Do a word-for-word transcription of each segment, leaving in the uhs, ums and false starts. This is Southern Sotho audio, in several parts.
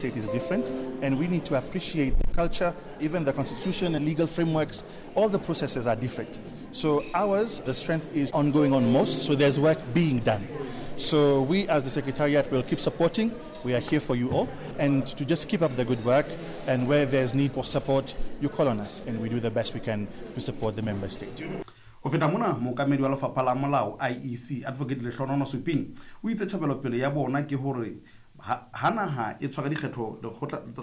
State is different, and we need to appreciate the culture, even the constitution and legal frameworks. All the processes are different. So ours, the strength is ongoing on most, so there's work being done. So we as the Secretariat will keep supporting. We are here for you all, and to just keep up the good work, and where there's need for support, you call on us, and we do the best we can to support the member state. Ho feta mona, mookamedi wa lefapha la molao I E C, Advocate Lehlohonololo Suping, o itse tjhebelopele ya bona ke hore ha ha naha e tshwara dikgetho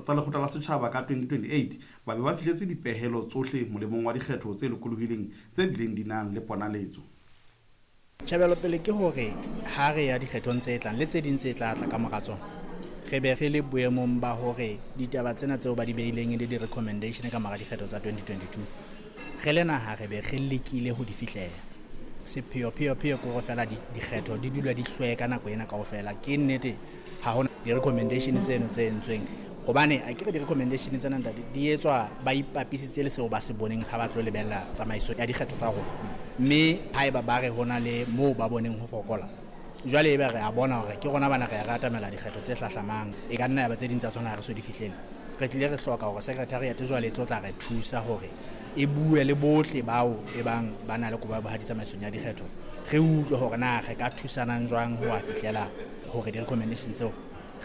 tsa lekgotla la setjhaba ka twenty twenty-eight, ba be ba fihletse dipehelo tsohle molemong wa dikgetho tse lokolohileng tse bileng di nang le ponaletso. Tjhebelopele ke hore ha re ya dikgethong tse tlang le tse ding tse tla tla ka mora tsona, re be re le boemong ba hore ditaba tsena tseo ba di beileng e le di-recommendation ka mora dikgetho tsa twenty twenty-two, re le naha re be re lekile ho di fihlela. Sepheo pheo pheo ke hore fela dikgetho di dula di hlweka nako ena kaofela. Ke nnete ha hona di-recommendation tseno tse entsweng, hobane akere di-recommendation tsena, ntate, di etswa ba ipapisitse le seo ba se boneng ha ba tlo lebella tsamaiso ya dikgetho tsa rona. Mme haeba ba re hona le moo ba boneng ho fokola, jwale ebe re a bona hore ke rona bana re ya re atamela dikgetho tse hlahlamang, e ka nna ya ba tse ding tsa tsona ha re so di fihlele. Re tlile re hloka hore secretariat jwale e tlo tla re thusa hore e bue le bohle bao e bang ba na le kobo ya bohadi tsamaisong ya dikgetho, re utlwe hore na re ka thusanang jwang ho a fihlela hore di-recommendation tseo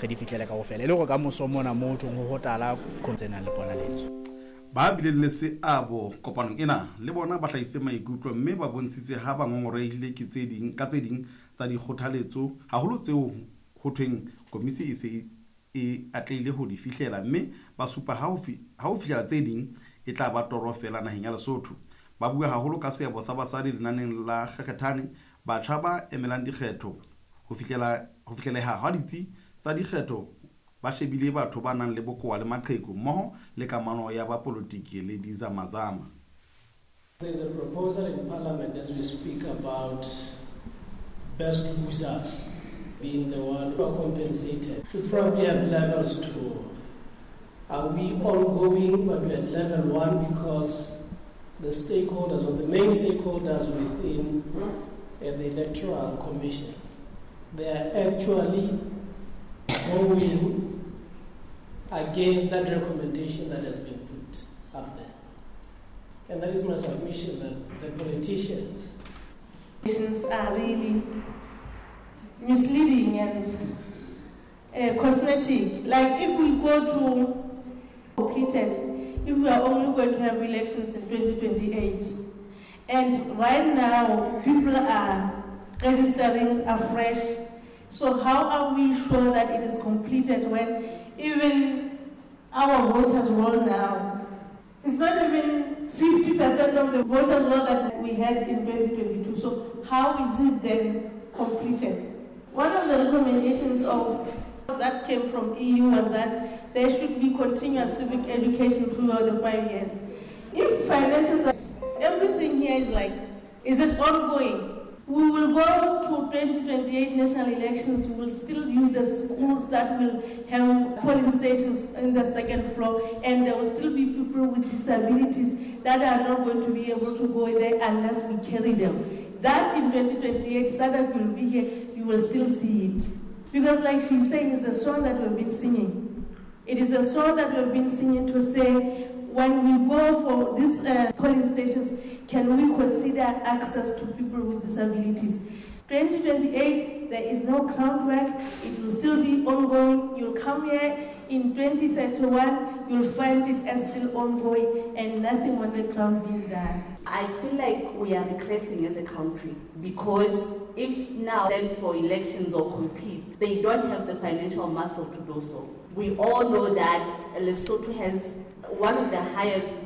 re di fihlele kaofela, e le hore ka moso mona mo thong ho hotala tse nang le ponaletso. Ba bileng le seabo kopanong ena le bona ba hlahisitse maikutlo mme ba bontshitse ha ba ngongorehile ke tse ding ka tse ding tsa dikgothaletso, haholo tseo ho thweng komisi e se e atlehile ho di fihlela, mme ba supa ha ho fihlela tse ding e tla ba toro feela naheng ya Lesotho. Ba bua haholo ka seabo sa basadi lenaneng la kgekgethane, batjha ba emelang dikgetho, ho fihlela ho fihleleha ha ditsi tsa dikgetho ba shebile batho ba nang le bokowa le maqheku, mmoho le kamano ya bapolotiki le dizamazama. There's a proposal in Parliament as we speak about best losers being the one who are compensated. Should probably have levels too. Are we ongoing, but we're at level one because the stakeholders or the main stakeholders within uh, the Electoral Commission, they are actually going against that recommendation that has been put up there. And that is my submission, that the politicians are really misleading and uh, cosmetic. Like if we go to completed, if we are only going to have elections in twenty twenty-eight, and right now people are registering afresh. So how are we sure that it is completed when even our voters roll now? It's not even fifty percent of the voters roll that we had in twenty twenty-two. So how is it then completed? One of the recommendations of that came from E U was that there should be continuous civic education throughout the five years. If finances are, everything here is like, is it ongoing? We will go to twenty twenty-eight national elections, we will still use the schools that will have polling stations in the second floor, and there will still be people with disabilities that are not going to be able to go there unless we carry them. That in twenty twenty-eight, S A D C will be here, you will still see it. Because like she's saying, it's the song that we've been singing. It is a song that we've been singing to say, when we go for these uh, polling stations, can we consider access to people with disabilities? twenty twenty-eight, there is no groundwork. It will still be ongoing. You'll come here in twenty thirty-one, you'll find it as still ongoing and nothing on the ground being done. I feel like we are regressing as a country, because if now then for elections or compete, they don't have the financial muscle to do so. We all know that Lesotho has one of the highest